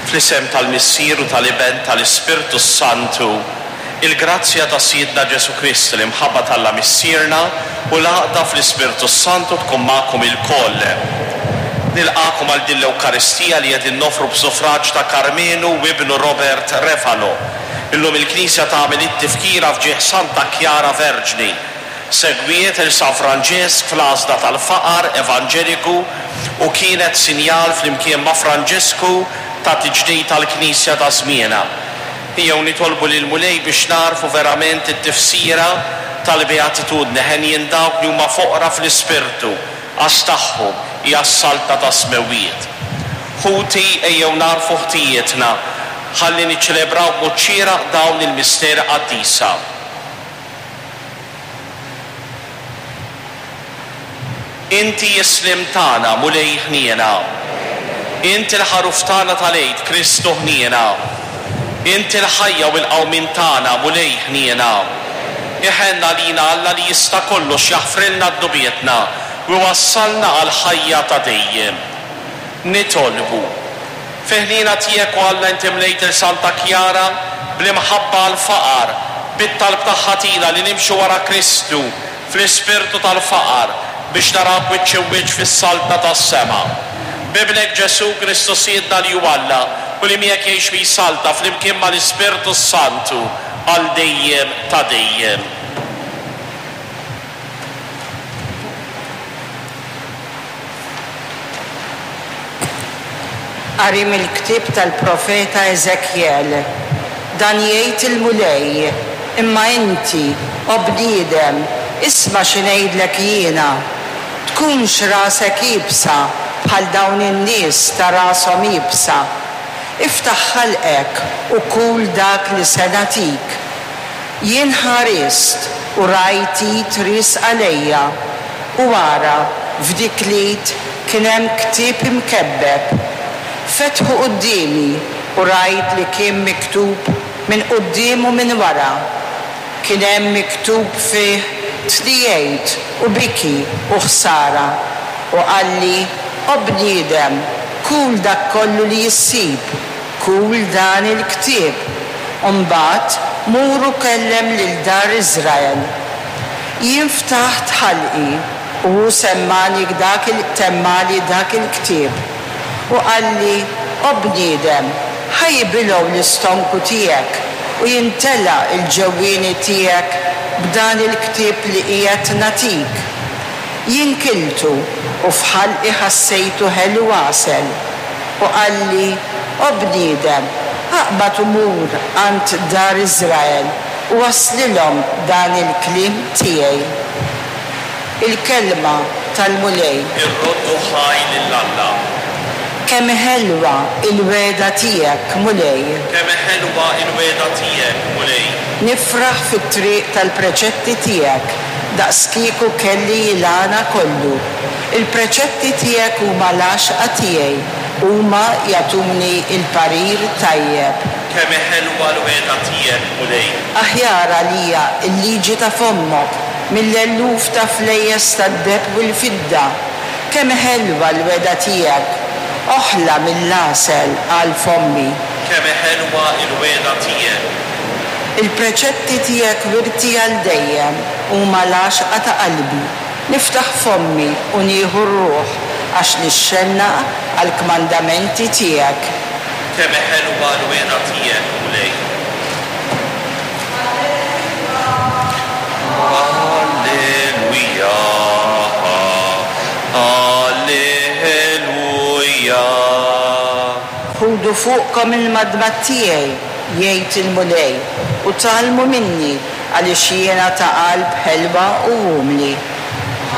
Fl-isem tal-Missier u tal-Iben tal-Ispirtu s-Santu, il-grazzja ta' Sidna Ġesù Kristu, l-imħabba t'Alla Missierna u l-għaqda fl-Ispirtu s-Santu tkun magħkom ilkoll. Nilqagħkom għal din l-Ewkaristija li qegħdin noffru b'suffraġġ ta' Karmenu u ibnu Robert Refalo. Illum il-Knisja tagħmel it-tifkira f'ġieħ Santa Kjara Verġni. Segwiet 'il San Franġisk fl-għażla tal-faqar evanġeliku u kienet sinjal flimkien ma' Franġisku ta' tiġdid tal-Knisja ta' żmienha. Ejjew nitolbu lill-Mulej biex nagħrfu verament it-tifsira tal-Beatitudni, Henjin dawk li huma foqra fl-ispirtu, għax tagħhom hija s-Saltna tas-Smewwiet. Ħuti, ejjew nagħrfu ħtijietna ħalli niċċelebraw b'mod xieraq dawn il-misteri qaddisa. Inti s-sliem tagħna, Mulej ħniena. Int il-ħaruf tagħna tal-Għid, Kristu ħniena. Int il-ħajja u l-qawmien tagħna, Mulej ħniena. Iħenn għalina Alla li jista' kollox jaħfrilna dnubietna u jwassalna għall-ħajja ta' dejjem. Nitolbu. Fil-ħniena tiegħek, o Alla, inti mlejt 'il Santa Kjara bl-imħabba għall-faqar, bit-talb tagħha tina li nimxu wara Kristu fl-ispirtu tal-faqar biex narawk wiċċ imwiċċ fis-Saltna tas-sema. B'Ibnek Ġesù Kristu Sidna li hu Alla u li miegħek jgħix u jsalta flimkien mal-Ispirtu s-Santu għal dejjem ta' dejjem. Qari mill-ktieb tal-profeta Eżekjel. Dan jgħid il-Mulej, Imma inti, o bniedem, isma' xi ngħidlek jiena. Tkunx rasek iebsa bħal dawn in-nies ta' rashom iebsa. Iftaħ ħalqek u kul dak li se nagħtik. Jien ħarist u rajt id riesqa lejja, u ara, f'dik l-id kien hemm ktieb imkebbeb. Fetħu quddiemi u rajt li kien miktub minn quddiem u minn wara. Kien hemm miktub fih tniegħid u biki u ħsara. U qalli, O bniedem, kul dak kollu li ssib. Kul dan il-ktieb, u mbagħad mur u kellem lil dar Iżrael. Jien ftaħt ħalqi, u hu semmagħni dak il temmagħli dak il-ktieb. U qalli, O bniedem, ħa jibilgħu l-istonku tiegħek u jimtela l-ġewwieni tiegħek b'dan il-ktieb li qiegħed nagħtik. Jien kiltu, u f'ħalqi ħassejtu ħelu għasel. U qalli, O bniedem, aqbad u mur għand dar Iżrael u wasslilhom dan il-kliem tiegħi. Il-kelma tal-Mulej. Irroddu ħaj lil Alla. Kemm hi ħelwa l-wegħda tiegħek, Mulej! Kemm hi ħelwa l-wegħda tiegħek, Mulej! Nifraħ fit-triq tal-preċetti tiegħek, daqskieku kelli l-għana kollu. Il-preċetti tiegħek huma l-għaxqa tiegħi, huma jagħtuni l-parir tajjeb. Kemm hi ħelwa l-wegħda tiegħek, Mulej! Aħjar għalija l-liġi ta' fommok mill-eluf ta' flejjes tad-deheb u l-fidda. Kemm hi ħelwa l-wegħda tiegħek, oħla mill-għasel għal fommi. Kemm hi ħelwa l-wegħda tiegħek! Il-preċetti tiegħek wirti għal dejjem, huma l-għaxqa ta' qalbi. Niftaħ fommi u nieħu r-ruħ, għax nixxennaq għall-kmandamenti tiegħek. Kemm hi ħelwa l-wegħda tiegħek, Mulej! Alleluja, Alleluja. Ħudu fuqkom il-madmad tiegħi, jgħid il-Mulej, u tgħallmu minni, għaliex jiena ta' qalb ħelwa u umli.